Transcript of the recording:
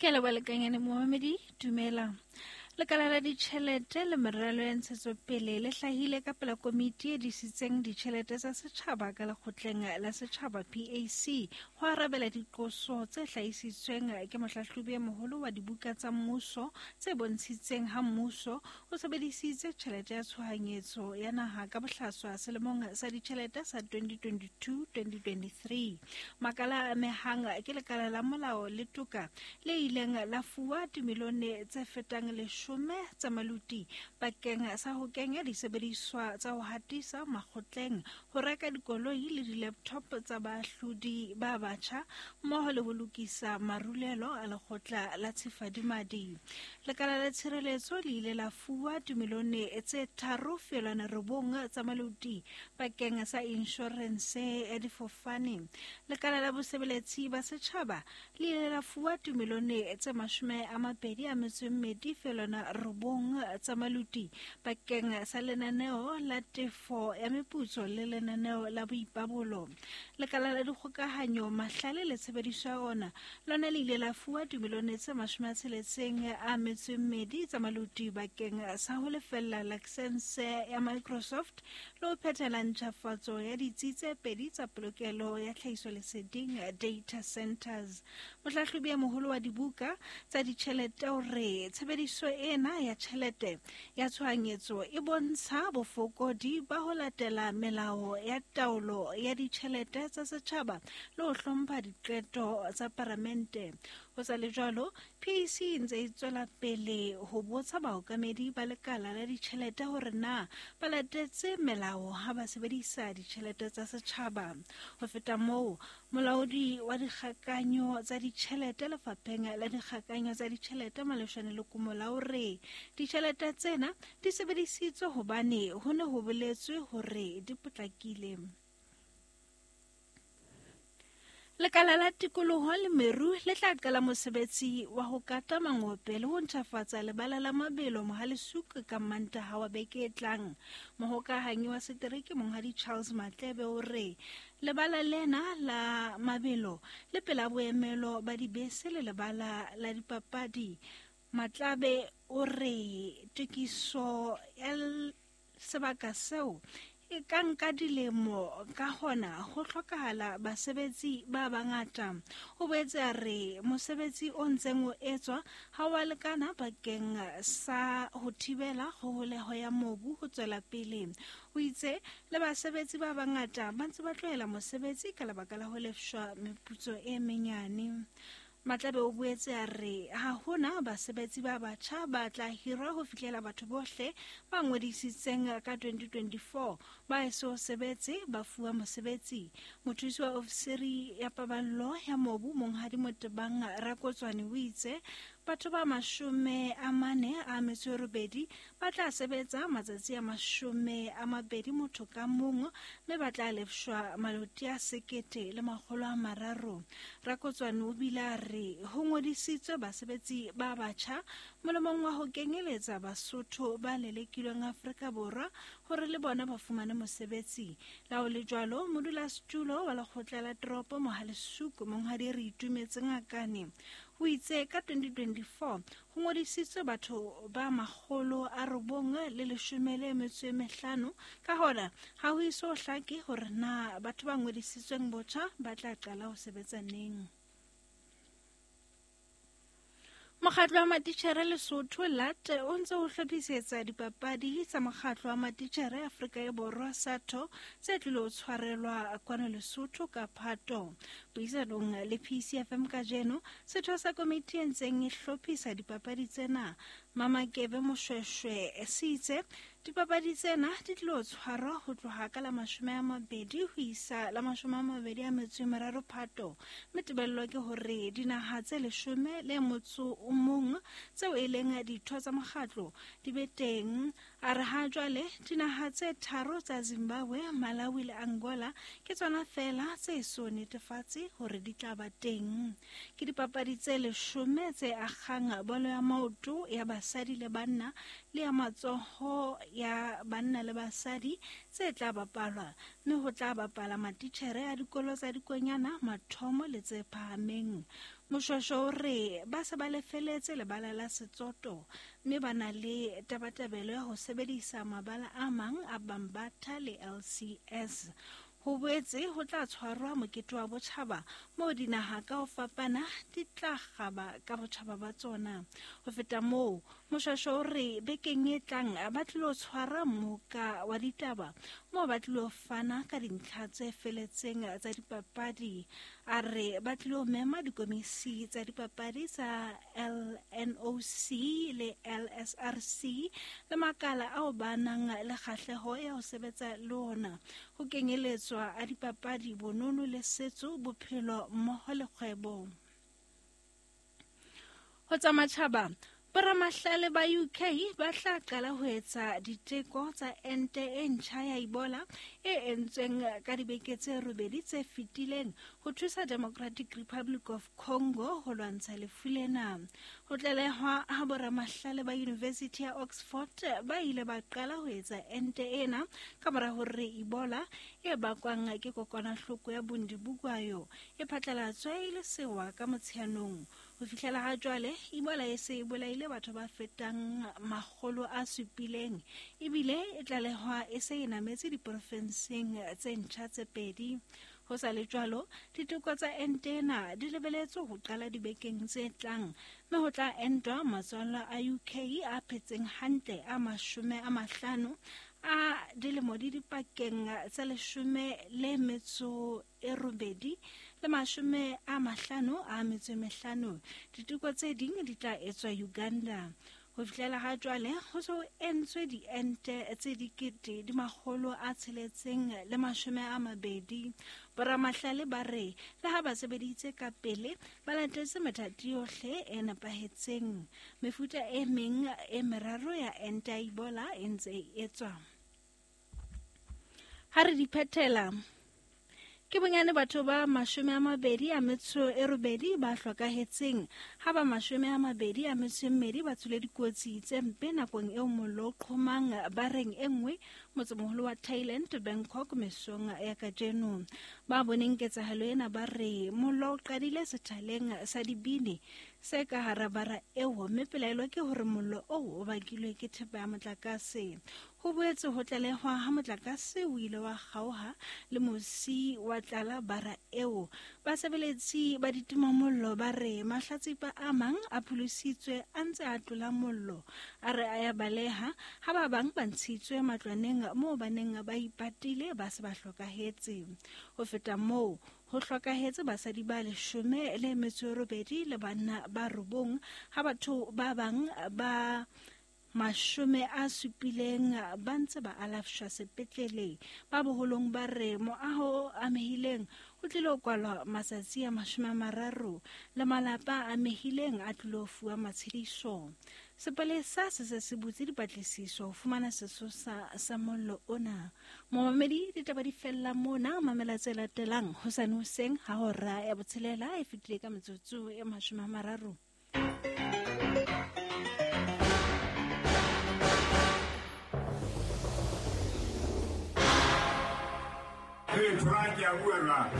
Ke a leboha lekanyane momamedi, dumela. Lekala la ditjhelete le meralo ya ntshetsopele le hlahile ka pela komiti e disitseng ditjhelete tsa setjhaba ka lekgotleng la setjhaba PAC ho arabela diqoso tse hlahisitsweng ke mohlahlobi e moholo wa dibuka tsa mmuso tse bontshitseng ha mmuso o sebedisitse tjhelete ya tshohanyetso ya naha ka bohlaswa selemong sa ditjhelete sa 2022-2023. Makala a amehang ke lekala la molao le toka le ileng la fuwa dimilione tse fetang leshome tsa maluti bakeng sa ho kenya disebediswa tsa ho hatisa makgotleng, ho reka dikoloi le di-laptop tsa baahlodi ba batjha mmoho le ho lokisa marulelo a lekgotla la tshifadimadi. Lekala la tshireletso le ile la fuwa dimilione tse 3.9 tsa maluti bakeng sa inshorense ya difofane. Lekala la bosebeletsi ba setjhaba le ile la fuwa dimilione tse 22.9 tsa maluti bakeng sa lenaneo la tefo ya meputso le lenaneo la boipabolo. Lekala la dikgokahanyo, mahlale le tshebediso ya ona lona le ile la fuwa dimilione tse 62 tsa maluti bakeng sa ho lefella lakesense ya Microsoft le ho phethela ntjhafatso ya ditsi tse pedi tsa polokelo ya tlhahisoleseding data centers. Mohlahlobi e moholo wa dibuka tsa ditjhelete o re tshebediso ena ya tjhelete ya tshohanyetso e bontsha bofokodi ba ho latela melao ya taolo ya ditjhelete tsa setjhaba le ho hlompha diqeto tsa paramente. Ho sa le jwalo, PAC e ntse e tswela pele ho botsa baokamedi ba lekala la ditjhelete hore na ba latetse melao ha ba sebedisa ditjhelete tsa setjhaba. Ho feta moo, molaodi wa dikgakanyo tsa ditjhelete lefapheng la dikgakanyo tsa ditjhelete Maleshwane Lekomola o re ditjhelete tsena di sebedisitswe hobane ho ne ho boletswe hore di potlakile. Lekala la tikoloho le meru le tla qala mosebetsi wa ho kata mangope le ho ntjhafatsa lebala la mabelo Mohalesuke ka Mantaha wa beke e tlang. Mohokahanyi wa setereke Monghadi Charles Matlebe o re lebala lena la mabelo le pela boemelo ba dibese le lebala la dipapadi. Matlabe o re tokiso ya sebaka seo e ka nka dilemo, ka hona ho hlokahala basebetsi ba bangata. O boetse a re mosebetsi o ntseng o etswa ha wa lekana bakeng sa ho thibela kgoholeho ya mobu ho tswela pele. O itse le basebetsi ba bangata ba ntse ba tlohela mosebetsi ka lebaka la ho lefshwa meputso e menyane. Matlabe o boetse a re ha hona basebetsi ba batjha ba tla hirwa ho fihlela batho bohle ba ngodisitseng ka 2024 ba eso sebetse ba fuwa mosebetsi. Mothusi wa ofisiri ya paballo ya mobu Monghadi Motebang Rakotswane o itse batho ba 48 ba tla sebetsa matsatsi a 20 motho ka mong, mme ba tla lefshwa maloti a 1,300. Rakotswane o bile a re ho ngodisitswe basebetsi ba batjha molemong wa ho kenyeletsa Basotho ba lelekilweng Afrika Borwa hore le bona ba fumane mosebetsi. La ho le jwalo, modulasetulo wa lekgotla la toropo Mohalesuku Monghadi Re Itumetse Ngakane o itse ka 2024 ho ngodisitswe batho ba 915, ka hona ha ho iso hlake hore na batho ba ngodisitsweng botjha ba tla qala ho sebetsa neng. Mokgatlo wa matitjhere Lesotho LAT o ntse o hlophisetsa dipapadi tsa mokgatlo wa matitjhere Afrika e Borwa SATO tse tlilo tshwarelwa kwano Lesotho ka Phato. Puisanong le PCFM kajeno, setho sa komiti e ntseng e hlophisa dipapadi tsena Mamakebe Moshweshwe se itse dipapadi tsena di tlilo tshwarwa ho tloha ka la 20 ho isa la 23 Phato, mme tebello ke hore dinaha tse 11 tseo e leng ditho tsa mokgatlo di be teng. A re ha jwale dinaha tse 3 tsa Zimbabwe, Malawi le Angola ke tsona feela tse so netefatse hore di tla ba teng. Ke dipapadi tse 10 tse akgang bolo ya maoto ya basadi le banna le ya matsoho ya banna le basadi tse tla bapalwa, mme ho tla bapala matitjhere a dikolo tsa dikonyana, mathomo le tse phahameng. Moshoeshoe o re ba se ba lefeletse lebala la Setsoto mme ba na le tabatabelo ya ho sebedisa mabala a mang a Bambatha le LCS. Ho boetse ho tla tshwarwa mokete wa botjhaba moo dinaha ka ho fapana di tla kgaba ka botjhaba ba tsona. Ho feta moo, Moshoeshoe o re bekeng e tlang ba tlilo tshwara mmoka wa ditaba moo ba tlilo fana ka dintlha tse feletseng tsa dipapadi. A re ba tlilo mema dikomisi tsa dipapadi tsa LNOC le LSRC le makala ao ba nang le kgahleho ya ho sebetsa le ona, ho kenyeletswa a dipapadi, bonono le setso, bophelo mmoho le kgwebo. Ho tsa matjhaba, boramahlale ba UK ba tla qala ho etsa diteko tsa ente e ntjha ya Ebola e entsweng ka dibeke tse robedi tse fetileng ho thusa Democratic Republic of Congo ho lwantsha lefu lena. Ho tlalehwa ha boramahlale ba University ya Oxford ba ile ba qala ho etsa ente ena ka mora hore Ebola e bakwang ke kokwanahloko ya Bundibugwayo e phatlalatswe e le sewa ka Motsheanong. Ho fihlela ha jwale, Ebola e se e bolaile batho ba fetang 700, ebile e tlalehwa e se e nametse diporofenseng tse ntjha tse pedi. Ho sa le jwalo, diteko tsa ente ena di lebeletswe ho qala dibekeng tse tlang, mme ho tla entwa matswalla a UK a phetseng hantle a 50 a dilemo di dipakeng tsa 18 le 55. Diteko tse ding di tla etswa Uganda. Ho fihlela ha jwale, ho se ho entswe diente tse 620. Boramahlale ba re le ha ba sebeditse ka pele, ba latetse methati yohle e nepahetseng. Mefuta e meng e meraro ya ente ya Ebola e ntse e etswa. Ha re di phethela, ke bonyane batho ba 28 ba hlokahetseng, ha ba 22 ba tswile dikotsi tse mpe nakong eo mollo o qhomang bareng e nngwe motsemoholo wa Thailand, Bangkok, mesong ya kajeno. Ba boneng ketsahalo ena ba re mollo o qadile sethaleng sa dibini se ka hara bara eo, mme pelaelo ke hore mollo oo o bakilwe ke thepa ya motlakase. Ho boetse ho tlalehwa ha motlakase o ile wa kgaoha le mosi wa tlala bara eo. Basebeletsi ba ditimamollo ba re mahlatsipa a mang a pholositswe a ntse a tlola mollo, a re a ya baleha, ha ba bang ba ntshitswe matlwaneng moo ba neng ba ipatile ba se ba hlokahetse. Ho feta moo, ho hlokahetse basadi ba 18 le banna ba 9, ha batho ba bang ba 70 ba ntse ba alafshwa sepetlele. Ba boholong ba re moaho o amehileng o tlilo kwalwa matsatsi a 30 le malapa a amehileng a tlilo fuwa matshediso. Sepolesa se se se butse dipatlisiso ho fumana sesosa sa mollo ona. Momamedi, ditaba di fella mona. Mamela tse latelang hosane hoseng ha hora ya 6 e fetile ka metsotso e 30. Hey, Frank, ya bua jwang?